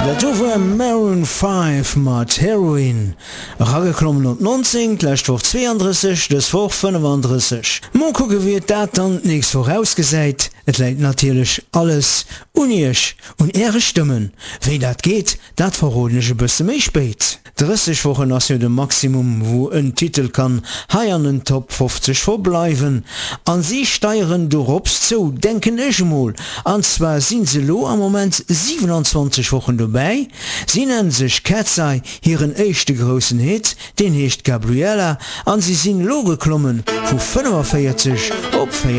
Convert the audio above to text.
Dat do war Maroon 5 mat Heroin. Erageklommen op 19, d'lescht Woch 32, dës Woch 35. Mol kucke wéi et dat dann d'nächst Woch ausgesäit. Et läit natierlech alles un iech, un äre Stëmmen. Wéi dat geet, dat verroden ech e bësse méi spéit. 30 Wochen ass jo de Maximum wou en Titel kann hei an den Top 50 verbleiwen. An si steieren dorops zou, denken ech emol. An zwar sinn se lo am Moment 27 Wochen dobäi. Si nennen sech Cat's Eye, hiren éischte groussen Hit, deen heescht Gabriella an si sinn lo geklommen vu 45 op 34.